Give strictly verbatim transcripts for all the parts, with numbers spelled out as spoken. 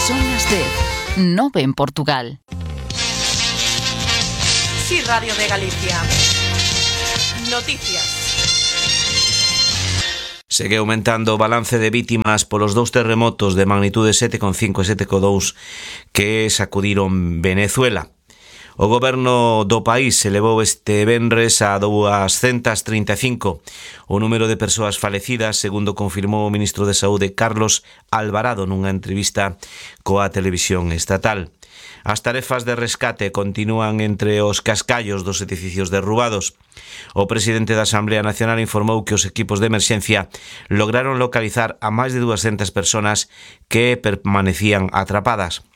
Son as dez, nove en Portugal. Sí, Radio de Galicia. Noticias. Segue aumentando o balance de vítimas polos dous terremotos de magnitude sete coma cinco e sete coma dous que sacudiron Venezuela. O goberno do país elevou este venres a duascentas trinta e cinco o número de persoas falecidas, segundo confirmou o ministro de Saúde Carlos Alvarado nunha entrevista coa televisión estatal. As tarefas de rescate continúan entre os cascallos dos edificios derrubados. O presidente da Asamblea Nacional informou que os equipos de emerxencia lograron localizar a máis de duascentas persoas que permanecían atrapadas.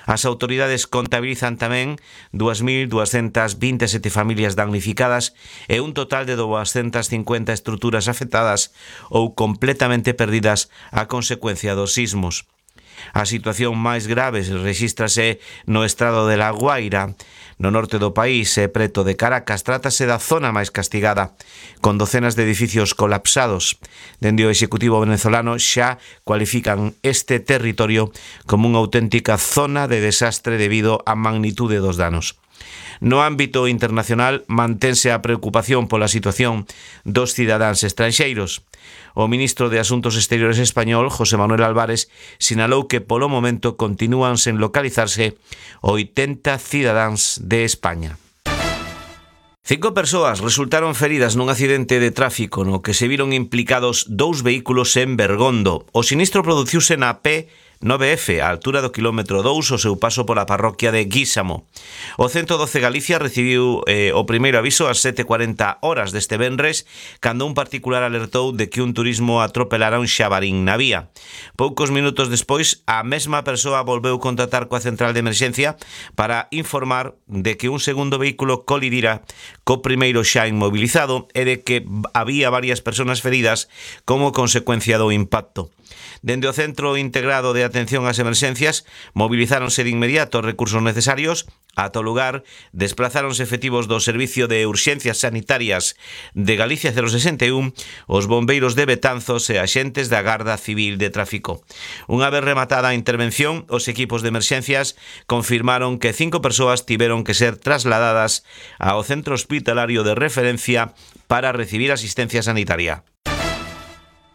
As autoridades contabilizan tamén dúas mil duascentas vinte e sete familias damnificadas e un total de duascentas cincuenta estruturas afectadas ou completamente perdidas a consecuencia dos sismos. A situación máis grave rexístrase no estado de La Guaira, no norte do país e preto de Caracas. Trátase da zona máis castigada, con docenas de edificios colapsados. Dende o Executivo venezolano xa cualifican este territorio como unha auténtica zona de desastre debido á magnitude dos danos. No ámbito internacional mantense a preocupación pola situación dos cidadáns estranxeiros. O ministro de Asuntos Exteriores español, José Manuel Álvarez, sinalou que polo momento continúan sen localizarse oitenta cidadáns de España. Cinco persoas resultaron feridas nun accidente de tráfico no que se viron implicados dous vehículos en Bergondo. O sinistro produciuse na P nove F, a altura do quilómetro dous, o seu paso pola parroquia de Guísamo. O ciento doce Galicia recibiu eh, o primeiro aviso ás sete e cuarenta horas deste venres, cando un particular alertou de que un turismo atropelara un xabarín na vía. Poucos minutos despois, a mesma persoa volveu contactar coa central de emerxencia para informar de que un segundo vehículo colidira co primeiro xa inmobilizado e de que había varias persoas feridas como consecuencia do impacto. Dende o Centro Integrado de Atención ás Emerxencias, movilizáronse de inmediato os recursos necesarios. Ata o lugar, desplazáronse efectivos do Servicio de Urxencias Sanitarias de Galicia cero sesenta e un, os bombeiros de Betanzos e axentes da Garda Civil de Tráfico. Unha vez rematada a intervención, os equipos de emerxencias confirmaron que cinco persoas tiveron que ser trasladadas ao centro hospitalario de referencia para recibir asistencia sanitaria.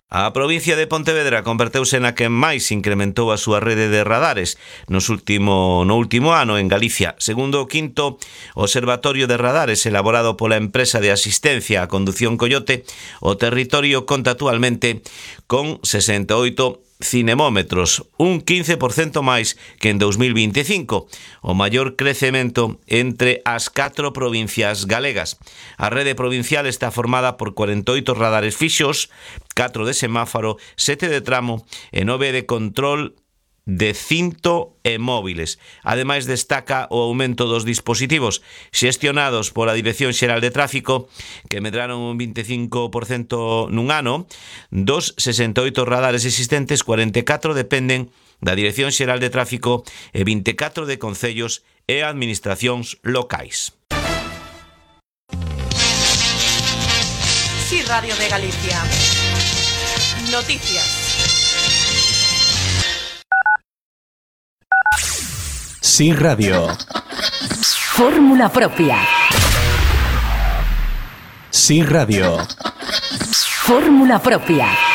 A provincia de Pontevedra converteuse na que máis incrementou a súa rede de radares nos último, no último ano en Galicia. Segundo o quinto Observatorio de Radares elaborado pola empresa de asistencia a condución Coyote, o territorio conta actualmente con sesenta e oito cinemómetros, un quince por cento máis que en dous mil vinte e cinco, o maior crecemento entre as catro provincias galegas. A rede provincial está formada por cuarenta e oito radares fixos, catro de semáforo, sete de tramo e nove de control de cinto e móviles. Ademais, destaca o aumento dos dispositivos xestionados pola Dirección Xeral de Tráfico, que medraron un vinte e cinco por cento nun ano. Dos sesenta e oito radares existentes, cuarenta e catro dependen da Dirección Xeral de Tráfico e vinte e catro de concellos e administracións locais. Sí, Radio de Galicia. Noticias. Sí Radio. Fórmula propia. Sí Radio. Fórmula propia.